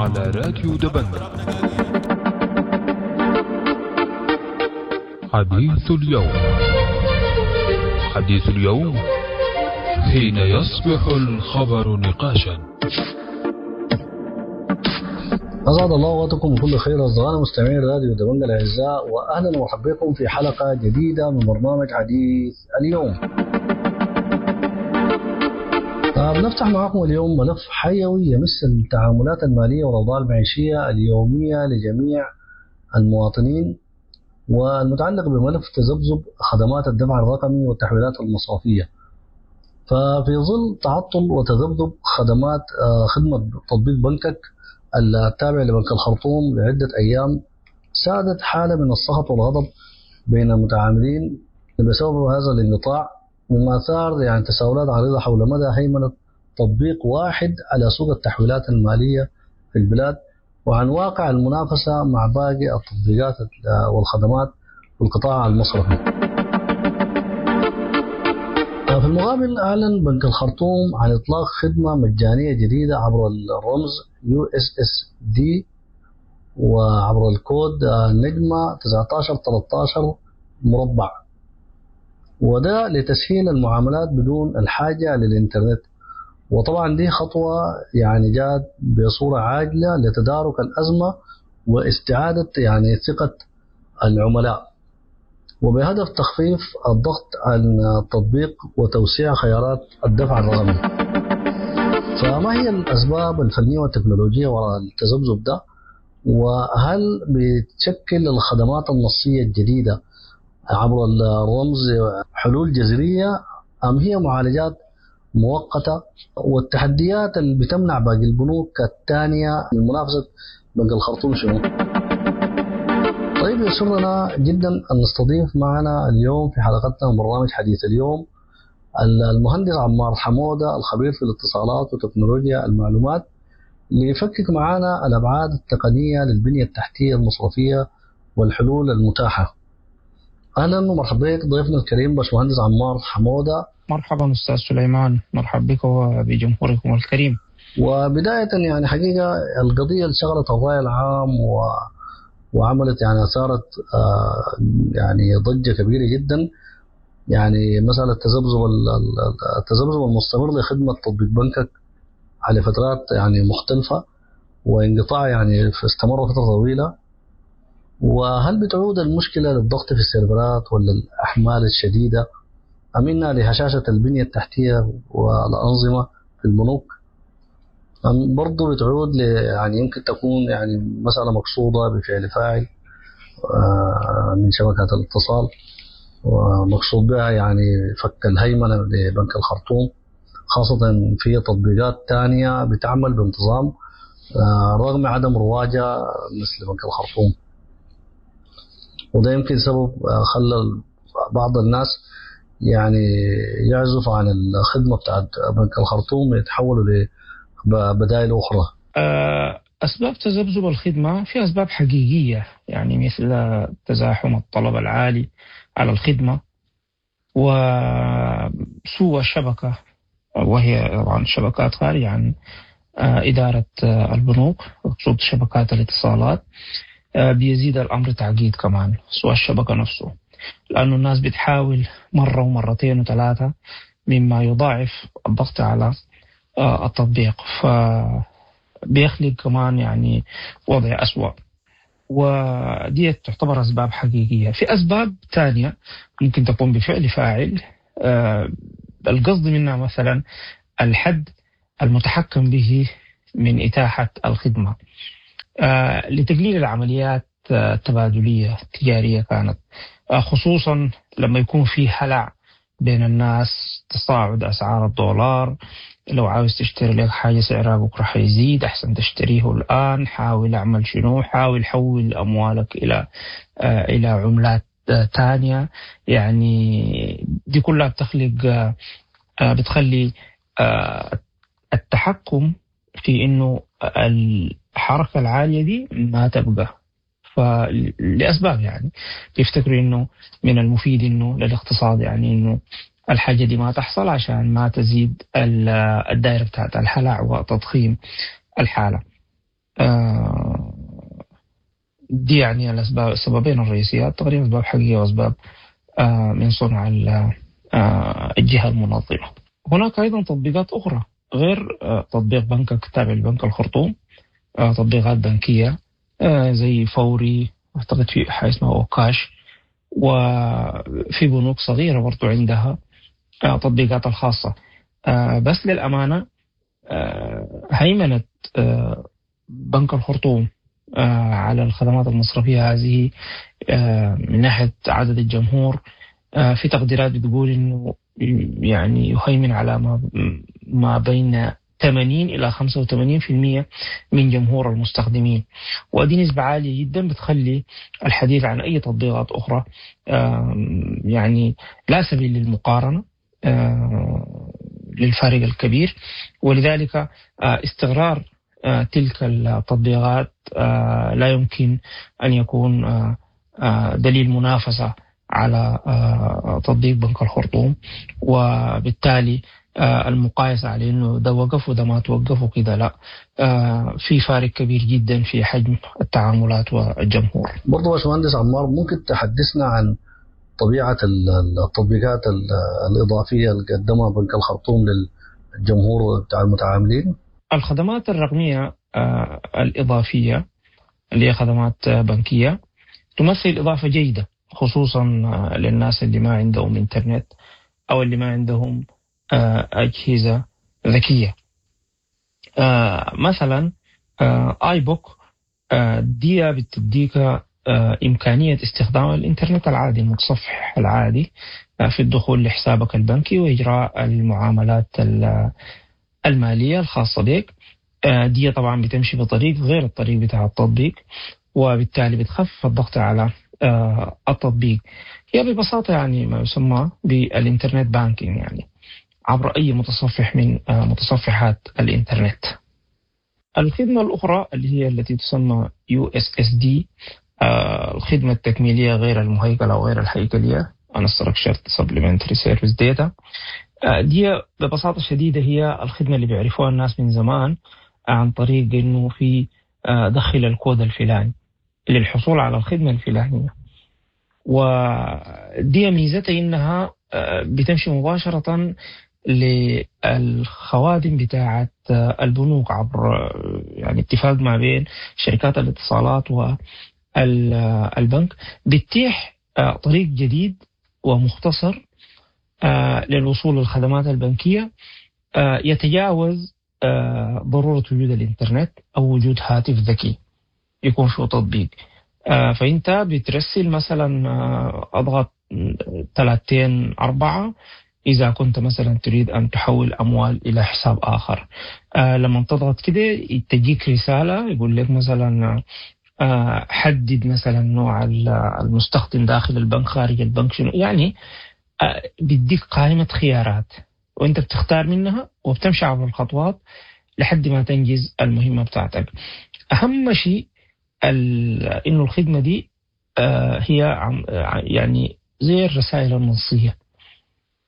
على راديو دبنجة. حديث اليوم، حديث اليوم حين يصبح الخبر نقاشا. أسعد الله أوقاتكم بكل خير أصدقائنا مستمعين راديو دبنجة الأعزاء، وأهلا ومرحبا بكم في حلقة جديدة من برنامج حديث اليوم. بنفتح معكم اليوم ملف حيوي يمس التعاملات المالية والأوضاع المعيشية اليومية لجميع المواطنين، والمتعلق بملف تذبذب خدمات الدفع الرقمي والتحويلات المصرفية. ففي ظل تعطل وتذبذب خدمة تطبيق بنكك التابع لبنك الخرطوم لعدة أيام، سادت حالة من السخط والغضب بين المتعاملين بسبب هذا الانقطاع، مما ثار تساؤلات عريضة حول مدى هيمنة تطبيق واحد على سوق التحويلات المالية في البلاد، وعن واقع المنافسة مع باقي التطبيقات والخدمات في القطاع المصرفي. في المقابل أعلن بنك الخرطوم عن إطلاق خدمة مجانية جديدة عبر الرمز USSD وعبر الكود نجمة 1913 مربع، وده لتسهيل المعاملات بدون الحاجة للإنترنت. وطبعا دي خطوة جاءت بصورة عاجلة لتدارك الأزمة واستعادة ثقة العملاء، وبهدف تخفيف الضغط عن التطبيق وتوسيع خيارات الدفع الرقمي. فما هي الأسباب الفنية والتكنولوجية وراء التذبذب ده؟ وهل بتشكل الخدمات النصية الجديدة عبر الرمز حلول جذرية أم هي معالجات مؤقتة؟ والتحديات اللي بتمنع باقي البنوك الثانية من منافسة بنك الخرطوم شنو؟ يسرنا جدا أن نستضيف معنا اليوم في حلقتنا من برنامج حديث اليوم المهندس عمار حمودة، الخبير في الاتصالات وتكنولوجيا المعلومات، ليفكك معنا الأبعاد التقنية للبنية التحتية المصرفية والحلول المتاحة. أهلا ومرحبا بك ضيفنا الكريم باشمهندس عمار حمودة. مرحبا أستاذ سليمان، مرحبا بك وبجمهوركم الكريم. وبداية حقيقة القضية اللي شغلت الرأي العام وعملت أثارت ضجة كبيرة جدا، مسألة التذبذب المستمر لخدمة تطبيق بنكك على فترات مختلفة، وانقطاع استمر فترة طويلة. وهل بتعود المشكلة للضغط في السيرفرات ولا الأحمال الشديدة، أم إنها لهشاشة البنية التحتية والأنظمة في البنوك، أم برضو بتعود يمكن تكون مسألة مقصودة بفعل فاعل من شبكات الاتصال، ومقصود بها فك الهيمنة لبنك الخرطوم، خاصة في تطبيقات تانية بتعمل بانتظام رغم عدم رواجها مثل بنك الخرطوم. وده يمكن سبب خلى بعض الناس يعزف عن الخدمة بتاعت بنك الخرطوم ويتحولوا لبدائل أخرى. أسباب تذبذب الخدمة في أسباب حقيقية، مثل تزاحم الطلب العالي على الخدمة وسوء الشبكة، وهي طبعا شبكات خارجة عن إدارة البنوك، أقصد شبكات الاتصالات. بيزيد الأمر تعقيد كمان سوء الشبكة نفسه، لأنه الناس بتحاول مرة ومرتين وثلاثة، مما يضاعف الضغط على التطبيق، فبيخلق كمان وضع أسوأ. ودي تعتبر أسباب حقيقية. في أسباب تانية ممكن تكون بفعل فاعل، القصد منها مثلا الحد المتحكم به من إتاحة الخدمة، لتقليل العمليات التبادلية التجارية كانت، خصوصا لما يكون في هلع بين الناس، تصاعد أسعار الدولار، لو عاوز تشتري لك حاجة سعرها بكرة حيزيد، أحسن تشتريه الآن، حاول أعمل شنو، حاول حول أموالك إلى عملات تانية. دي كلها بتخلي التحكم في إنه الحركة العالية دي ما تبقى. فلأسباب بيفتكروا إنه من المفيد إنه للاقتصاد إنه الحاجة دي ما تحصل عشان ما تزيد الدائرة بتاعت الهلع وتضخيم الحالة. دي يعني الأسباب، السببين الرئيسيات تقريبا، أسباب حقيقية وأسباب من صنع الجهة المنظمة. هناك أيضا تطبيقات أخرى غير تطبيق بنكك تابع لبنك الخرطوم، تطبيقات بنكية زي فوري، أعتقد في حاجة اسمها أوكاش، وفي بنوك صغيرة برضو عندها تطبيقات الخاصة. بس للأمانة هيمنة بنك الخرطوم على الخدمات المصرفية هذه من ناحية عدد الجمهور، في تقديرات بتقول إنه يعني يهيمن على ما بين 80 إلى 85% من جمهور المستخدمين، ودي نسبة عالية جدا بتخلي الحديث عن أي تطبيقات أخرى يعني لا سبيل للمقارنة للفارق الكبير. ولذلك استقرار تلك التطبيقات لا يمكن أن يكون دليل منافسة على تطبيق بنك الخرطوم، وبالتالي المقايسة على إنه ده وقف وده ما توقف وكده، لا، في فارق كبير جدا في حجم التعاملات والجمهور. برضو باشمهندس عمار، ممكن تحدثنا عن طبيعة التطبيقات الإضافية اللي قدمها بنك الخرطوم للجمهور بتاع المتعاملين؟ الخدمات الرقمية الإضافية اللي هي خدمات بنكية تمثل إضافة جيدة، خصوصا للناس اللي ما عندهم إنترنت أو اللي ما عندهم أجهزة ذكية. مثلا iBook دي بتديك إمكانية استخدام الإنترنت العادي، المتصفح العادي، في الدخول لحسابك البنكي وإجراء المعاملات المالية الخاصة بك. دي طبعا بتمشي بطريق غير الطريق بتاع التطبيق، وبالتالي بتخفف الضغط على التطبيق. هي ببساطة يعني ما يسمى بال internet banking، يعني عبر أي متصفح من متصفحات الإنترنت. الخدمة الأخرى اللي هي التي تسمى USSD، الخدمة التكميلية غير المهيكلة أو غير الهيكلية، Unstructured Supplementary Service Data، دي ببساطة شديدة هي الخدمة اللي بيعرفوها الناس من زمان عن طريق إنه في دخل الكود الفلاني للحصول على الخدمة الفلانية. ودي ميزتها إنها بتمشي مباشرة للخوادم بتاعة البنوك عبر يعني اتفاق ما بين شركات الاتصالات والبنك، بتتيح طريق جديد ومختصر للوصول للخدمات البنكية يتجاوز ضرورة وجود الإنترنت أو وجود هاتف ذكي يكون فيه تطبيق. فأنت بترسل مثلا أضغط 3 4 إذا كنت مثلا تريد أن تحول أموال إلى حساب آخر. لما تضغط كده تجيك رسالة يقول لك مثلا حدد مثلا نوع المستخدم داخل البنك خارج البنك شنو، يعني بيديك قائمة خيارات وانت بتختار منها وبتمشي عبر الخطوات لحد ما تنجز المهمة بتاعتك. أهم شيء إنه الخدمة دي هي يعني زي الرسائل النصية،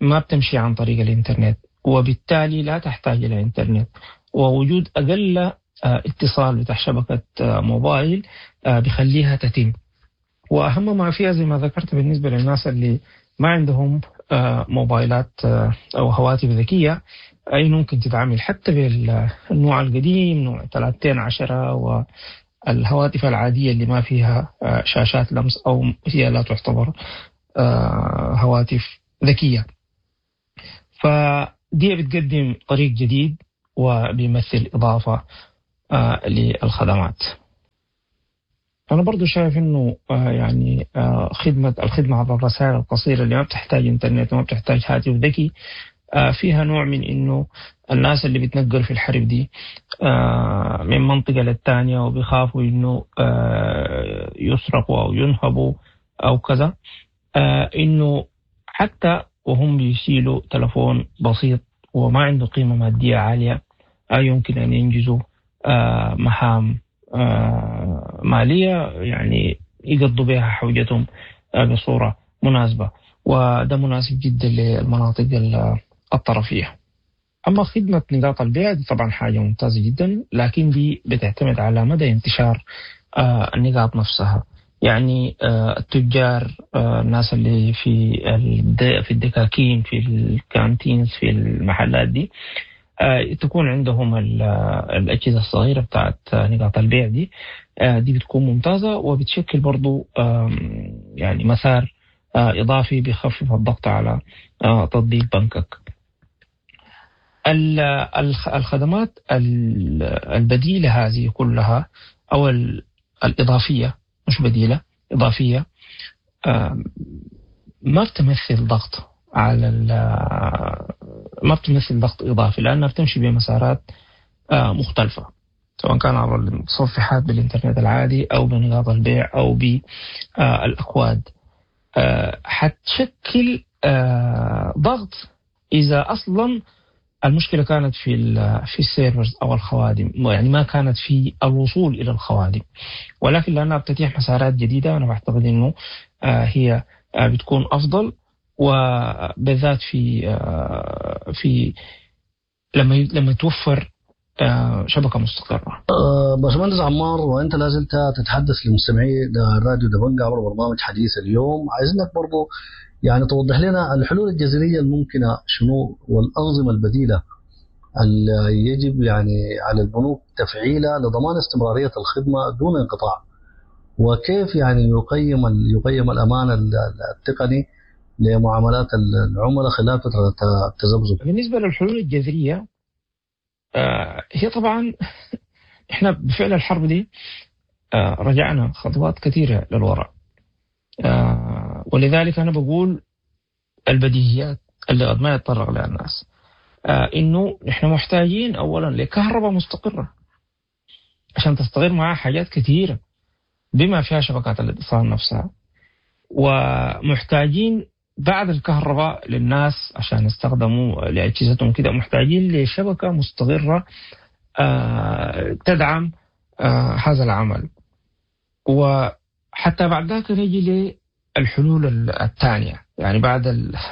ما بتمشي عن طريق الإنترنت، وبالتالي لا تحتاج إلى إنترنت، ووجود أقل اتصال بتاع شبكة موبايل بخليها تتم. وأهم ما فيها زي ما ذكرت بالنسبة للناس اللي ما عندهم موبايلات أو هواتف ذكية، أي ممكن تتعامل حتى بالنوع القديم نوع 13 والهواتف العادية اللي ما فيها شاشات لمس أو هي لا تعتبر هواتف ذكية. فدي بتقدم طريق جديد وبيمثل إضافة للخدمات. أنا برضو شايف إنه يعني الخدمة عبر الرسائل القصيرة اللي ما بتحتاج إنترنت وما بتحتاج هاتف ذكي فيها نوع من إنه الناس اللي بتنقل في الحرب دي من منطقة للتانية وبيخافوا إنه يسرقوا أو ينهبوا أو كذا، إنه حتى وهم بيشيلوا تلفون بسيط وما عنده قيمة مادية عالية يمكن أن ينجزوا مهام مالية يعني يقضوا بها حوجتهم بصورة مناسبة، وده مناسب جدا للمناطق الطرفية. اما خدمة نقاط البيع دي طبعا حاجة ممتازة جدا، لكن دي بتعتمد على مدى انتشار النقاط نفسها. يعني التجار، الناس اللي في الدكاكين، في ال canteens، في المحلات دي، تكون عندهم الأجهزة الصغيرة بتاعت نقاط البيع دي. دي بتكون ممتازة وبتشكل برضو يعني مسار إضافي بيخفف الضغط على تطبيق بنكك. الخدمات البديلة هذه كلها أو الإضافية، مش بديلة، إضافية، ما بتمثل ضغط على ما بتمثل ضغط إضافي، لأنها بتمشي بمسارات مختلفة، سواء كان عبر المتصفحات بالإنترنت العادي أو بنقاط البيع أو بالأكواد. حتشكل ضغط إذا أصلا المشكلة كانت في ال servers أو الخوادم، يعني ما كانت في الوصول إلى الخوادم، ولكن لأنها بتتيح مسارات جديدة أنا بعتقد إنه هي بتكون أفضل، وبالذات في لما توفر شبكة مستقرة. باشمهندس عمار، وأنت لازلت تتحدث لمستمعي راديو دبنجا عبر برنامج حديث اليوم، عايزينك برضو يعني توضح لنا الحلول الجذرية الممكنة شنو، والأنظمة البديلة اللي يجب يعني على البنوك تفعيلها لضمان استمرارية الخدمة دون انقطاع، وكيف يعني يقيم الأمان التقني لمعاملات العملاء خلال فترة التذبذب. بالنسبة للحلول الجذرية، هي طبعا احنا بفعل الحرب دي رجعنا خطوات كثيرة للوراء، ولذلك أنا بقول البديهيات اللي قد ما يتطرق لها الناس، إنه نحن محتاجين أولا لكهرباء مستقرة عشان تستقر معها حاجات كثيرة بما فيها شبكات الاتصال نفسها، ومحتاجين بعد الكهرباء للناس عشان يستخدموا لأجهزتهم كده، محتاجين لشبكة مستقرة تدعم هذا العمل. وحتى بعد ذاك نجي للحلول الثانية، يعني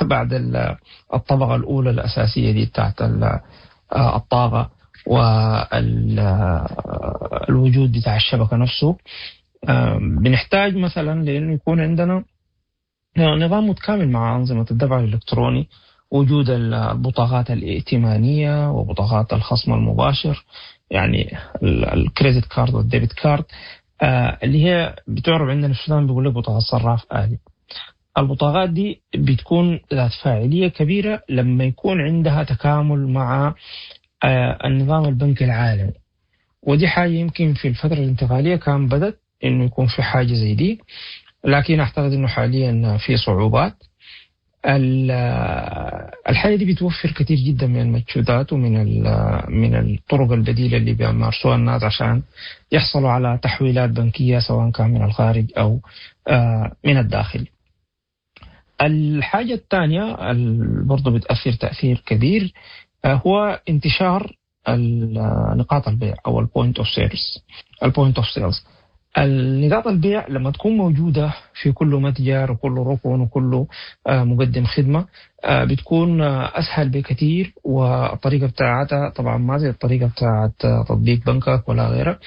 بعد الطبقة الأولى الأساسية دي بتاعت الطاقة والوجود بتاع الشبكة نفسه، بنحتاج مثلا لأنه يكون عندنا نظام متكامل مع أنظمة الدفع الإلكتروني، وجود البطاقات الائتمانية وبطاقات الخصم المباشر، يعني ال credit card وال debit card، اللي هي بتعرف عندنا في السودان بيقول لك بطاقة صراف آلي. البطاقات دي بتكون ذات فاعلية كبيرة لما يكون عندها تكامل مع النظام البنكي العالمي، ودي حاجة يمكن في الفترة الانتقالية كان بدت إنه يكون في حاجة زي دي، لكن أعتقد إنه حاليا في صعوبات. الحاجة دي بتوفر كثير جدا من المجهودات ومن من الطرق البديلة اللي بيمارسوها الناس عشان يحصلوا على تحويلات بنكية سواء كان من الخارج أو من الداخل. الحاجة الثانية برضو بتأثر تأثير كبير هو انتشار نقاط البيع أو ال point of sales. ال point of sales، النقاط البيع لما تكون موجودة في كل متجر وكل ركن وكل مقدم خدمة بتكون أسهل بكثير، والطريقة بتاعتها طبعا ما زي الطريقة بتاعت تطبيق بنكك ولا غيره.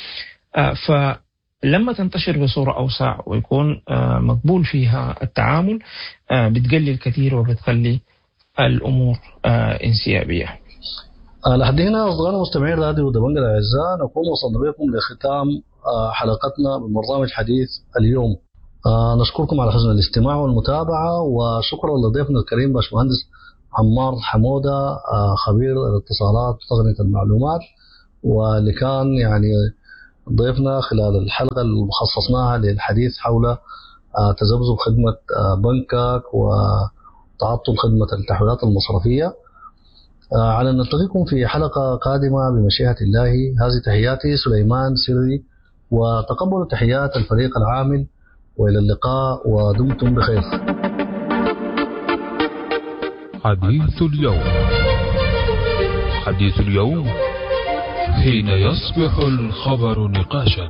فلما تنتشر بصورة أوسع ويكون مقبول فيها التعامل بتقلل كثير وبتخلي الأمور انسيابية. لحد هنا أصدقائنا مستمعين راديو دبنجا الأعزاء، نكون وصلنا بكم لختام حلقتنا من برنامج حديث اليوم. نشكركم على حسن الاستماع والمتابعة، وشكرا لضيفنا الكريم باشمهندس عمار حمودة، خبير الاتصالات وتقنية المعلومات، واللي كان يعني ضيفنا خلال الحلقة اللي خصصناها للحديث حول تذبذب خدمة بنكك وتعطل خدمة التحويلات المصرفية. على أن نلتقيكم في حلقة قادمة بمشيئة الله. هذه تحياتي سليمان سري، وتقبلوا تحيات الفريق العامل، وإلى اللقاء ودمتم بخير. حديث اليوم، حديث اليوم حين يصبح الخبر نقاشا.